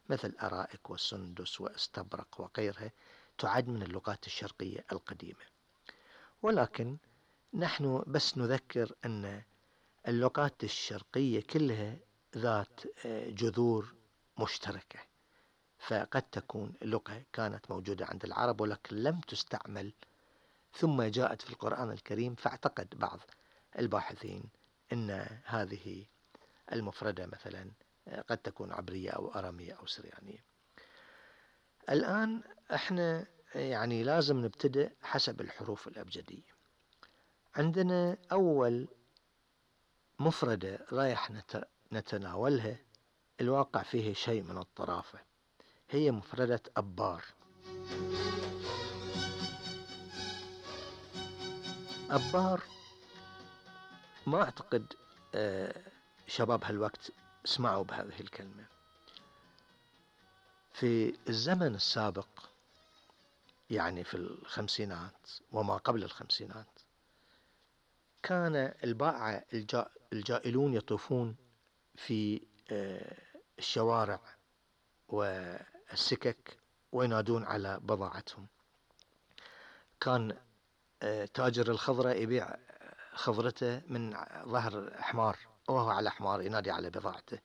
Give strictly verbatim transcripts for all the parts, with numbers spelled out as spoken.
مثل أرائك والسندس واستبرق وغيرها، تعد من اللغات الشرقية القديمة. ولكن نحن بس نذكر أن اللغات الشرقية كلها ذات جذور مشتركة، فقد تكون لغة كانت موجودة عند العرب ولكن لم تستعمل ثم جاءت في القرآن الكريم، فاعتقد بعض الباحثين أن هذه المفردة مثلا قد تكون عبرية أو أرامية أو سريانية. الآن احنا يعني لازم نبتدئ حسب الحروف الأبجدية. عندنا أول مفردة رايح نتناولها الواقع فيه شيء من الطرافة، هي مفردة أبار. أبار ما أعتقد شباب هالوقت اسمعوا بهذه الكلمة. في الزمن السابق يعني في الخمسينات وما قبل الخمسينات كان البائع الجائلون يطوفون في الشوارع والسكك وينادون على بضاعتهم. كان تاجر الخضرة يبيع خضرته من ظهر حمار وهو على حمار ينادي على بضاعته،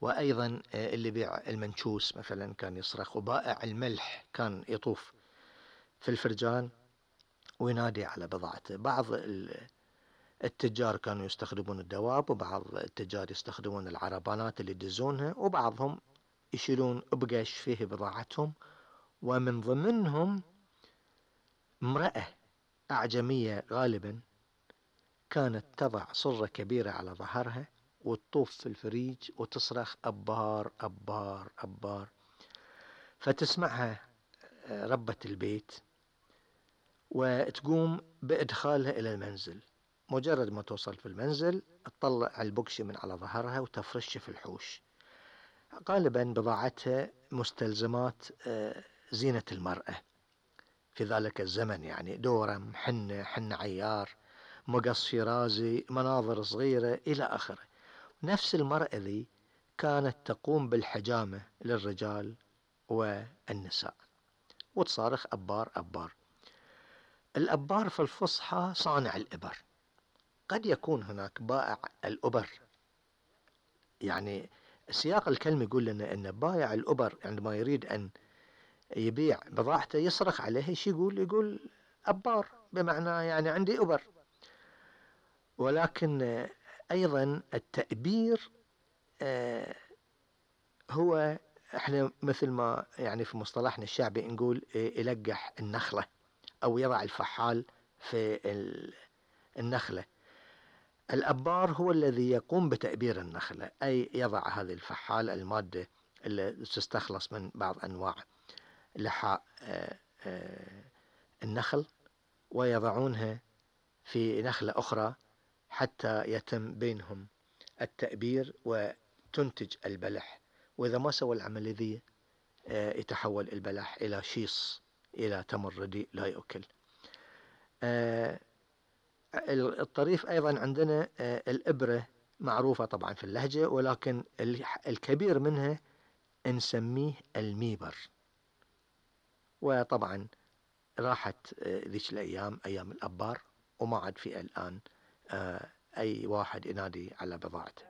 وأيضا اللي بيع المنشوس مثلا كان يصرخ، وبائع الملح كان يطوف في الفرجان وينادي على بضاعته. بعض التجار كانوا يستخدمون الدواب، وبعض التجار يستخدمون العربانات اللي يدزونها، وبعضهم يشيلون بقش فيه بضاعتهم. ومن ضمنهم امرأة أعجمية غالبا كانت تضع صرة كبيرة على ظهرها وتطوف في الفريج وتصرخ أبار أبار أبار، فتسمعها ربة البيت وتقوم بإدخالها إلى المنزل. مجرد ما توصل في المنزل تطلع البقشة من على ظهرها وتفرش في الحوش. غالبا بضاعتها مستلزمات زينة المرأة في ذلك الزمن، يعني دورم، حنة، حنة عيار، مقص شيرازي، مناظر صغيرة إلى آخره. نفس المرأة ذي كانت تقوم بالحجامة للرجال والنساء وتصارخ أبار أبار. الأبار في الفصحى صانع الإبر. قد يكون هناك بائع الأبر، يعني سياق الكلمة يقول لنا أن بائع الأبر عندما يريد أن يبيع بضاعته يصرخ عليه، ايش يقول؟ يقول أبار، بمعنى يعني عندي أبر. ولكن أيضا التأبير هو احنا مثل ما يعني في مصطلحنا الشعبي نقول يلقح النخلة أو يضع الفحال في النخلة. الأبار هو الذي يقوم بتأبير النخلة، أي يضع هذه الفحال، المادة اللي تستخلص من بعض أنواع لحاء النخل، ويضعونها في نخلة أخرى حتى يتم بينهم التأبير وتنتج البلح. وإذا ما سوى العملية ذي يتحول البلح إلى شيص، إلى تمر رديء لا يؤكل. الطريف أيضا عندنا الإبرة معروفة طبعا في اللهجة، ولكن الكبير منها نسميه الميبر. وطبعا راحت ذيك الأيام أيام الأبار وما عاد في الآن أي واحد ينادي على بضاعته.